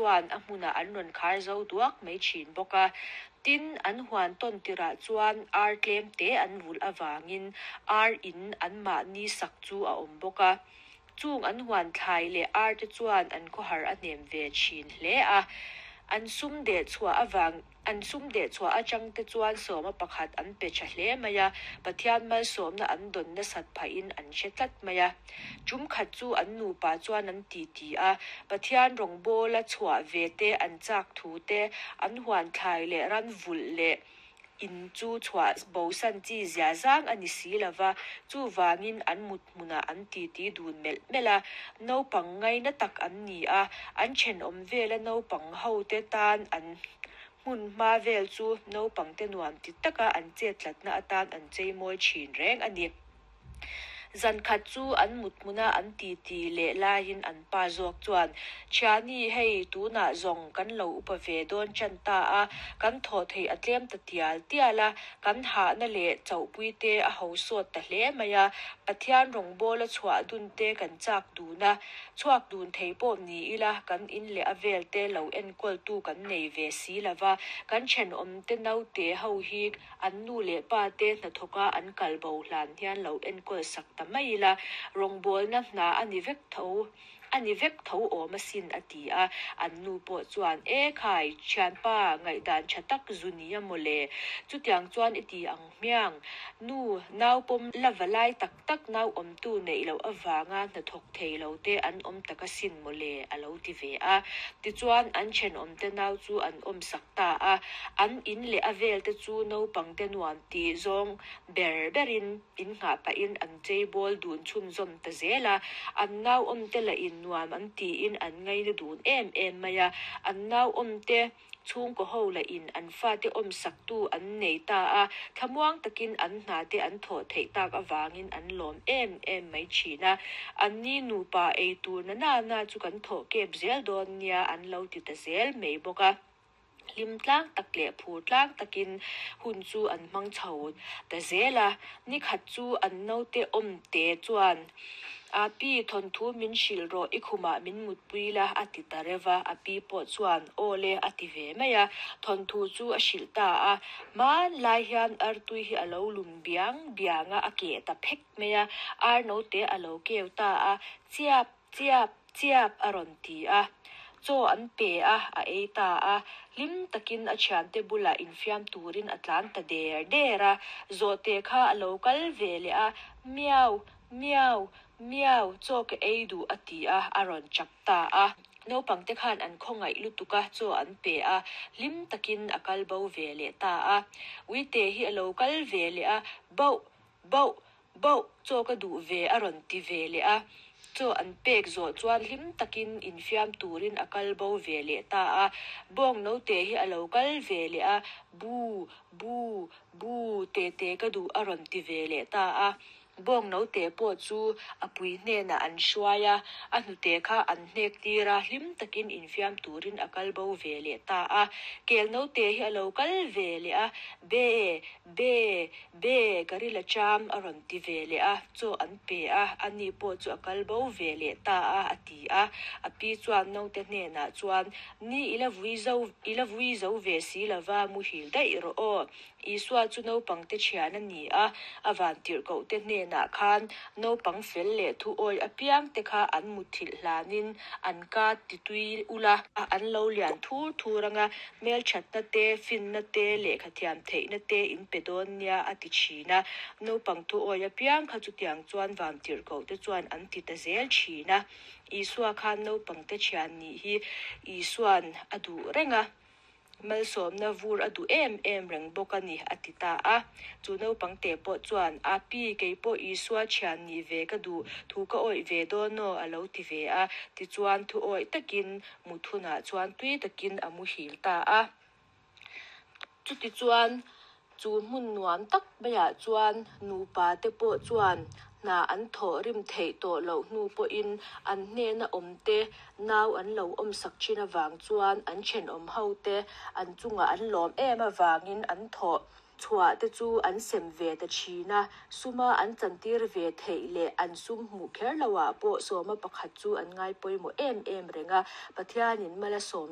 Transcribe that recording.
chuan a hmunah an rawn khar zo duak mai thin bawk a. Tin, an huan tawn tirah chuan ar tlem te an vulh avangin ar in anmahni sak chu a awm bawk a. Chung an huan thlai leh ar te chuan an khawhar a hnem ve thin hle a. An sum deh chhuah avang. An sum deh chhuah atang te chuan sawma pakhat an pe tha hle mai a, Pathian malsawmna an dawn nasat phahin an hre tlat mai a. Tum khat chu an nupa chuan an ti ti a, Pathian rawngbawla chhuah ve te an chak thu te, an huan thlai leh ran vulh leh in chu chhuah bosan chi zia zang a ni si lova, chuvangin an mut hmunah an titi dun melh melh a, naupang ngaina tak an ni a, an thenawm vela naupang hote tan an hmun hma vel chu naupangte nuam ti taka an chettlatna atan an cheimawi thin reng a ni. Zan khat chu an mut hmuna an titi leh laiin an pa zawk chuan, Thiani, hei tunah zawng kan lo upa ve dawn tan ta a, kan thawh theih a tlem ta tial tial a, Kan hahna leh chauhpuite a ho sawt ta hle mai a, Pathian rawngbawla chhuah dun te kan chak dun a, chhuak dun thei pawh ni ila kan in leh a vel te lo enkawltu kan nei ve si lo va, kan thenawmte naute ho hi an nu leh pa te hnathawka an kal bo hlan hian lo enkawl sak ta mai ila, rawngbawlna hna a ni vek tho. A ni vek tho awm asin a ti a, an nu pawh chuan, E khai, thianpa, ngaihdan tha tak zu nia maw le? Chutiang chuan i ti ang hmiang. Nu, nau pawm la va lai tak tak nau awmtu neih loh avanga hnathawk thei lo te an awm tak asin maw le? a lo ti ve a. Tichuan, an thenawmte nau chu an awmsak ta a, an in leh a vel te chu naupangte nuam tih zawng ber berin, In nghah pahin an cheibawl dun chhunzawm ta zel a, an nauawmte lahin nuam an tiin an ngaina dun em em mai a, an nauawmte chhungkaw ho lahin an fate awmsaktu an nei ta a, thlamuang takin an hnate an thawh theih tak avangin an lawm em em mai thin a, anni nupa ei tur na na na chu kan thawh kep zel dawn nia an lo ti ta zel mai bawk a. Hlim tlang tak leh phur tlang takin hun chu an hmang chho ta zel a, nikhat chu an naute awmte chuan, A pi, thawnthu min hrilh rawh, i khumah min mutpui la, a ti ta reuh a, a pi pawh chuan, Aw le, a ti ve mai a, thawnthu chu a hrilh ta a. Hmanlai hian artui hi a lo lum biang biang a, a keh ta phek mai a, ar naute a lo keu ta a, Chiap! Chiap, chiap a rawn ti a. Chaw an pe a, a ei ta a. Hlim takin a thiante bulah infiam turin a tlan ta der der a. Zawhte kha a lo kal ve leh a, Miau, miau, miau, chaw ka ei duh a ti a, a rawn chap ta a. Naupangte khan an khawngaih lutuk a, chaw an pe a, hlim takin a kal bo ve leh ta a. Uite hi a lo kal ve leh a, Bauh, bauh, Bauh, chaw ka duh ve a rawn ti ve leh a, chaw an pek zawh chuan hlim takin infiam turin a kal bo ve leh ta a. Bawng note hi a lo kal ve leh a, Bu, bu, bu, tete ka duh a rawn ti ve leh ta a. Bawng note pawh chu a pui hnenah an hruai a, a hnute kha an hnek tir a, hlim takin infiam turin a kal bo ve leh ta a. Kel note hi a lo kal ve leh a, Be, be, Be, ka ril a cham a rawn ti ve leh a, chaw an pe a, ani pawh chu a kal bo ve leh ta a, a ti a. A pi chuan naute hnenah chuan, Ni i la vui zo, i la vui zo ve si lova, muhil daih rawh aw. Isua chu naupangte thian a ni a, a vantirhkohte hnenah khan naupang fel leh thu awi apiangte kha an mutthilh hlanin an ka titui ula, an lo lian thur thur anga Hmelthatna te, finna te, lehkha thiam theihna te in pe dawn nia a ti thin a. Naupang thuawi apiang kha chutiang chuan vantirhkoh te chuan an ti ta zel thin a. Isua khan naupangte thian nih hi Isua'n a duh reng a. Malsawmna vur a duh em em reng bawk a ni a ti ta a. Chu naupangte pawh chuan, A pi, kei pawh Isua thian nih ve ka duh, thu ka awih ve dawn aw a lo ti ve a. Tichuan thuawi takin Mut hunah chuan tui takin a muhil ta a. Chutichuan, chu hmun nuam tak maiah chuan nupa te pawh chuan hna an thawh rim theih tawh loh hnu pawhin an hnena awm te nau an lo awmsak thin avang chuan an thenawm ho te an chungah an lawm em avangin an thawh Chhuah te chu an sem ve ta thin a, suma an chantir ve theih leh an sum hmuh kher loah pawh sawma pakhat chu an ngai pawimawh em em reng a, Pathianin mal a sawm.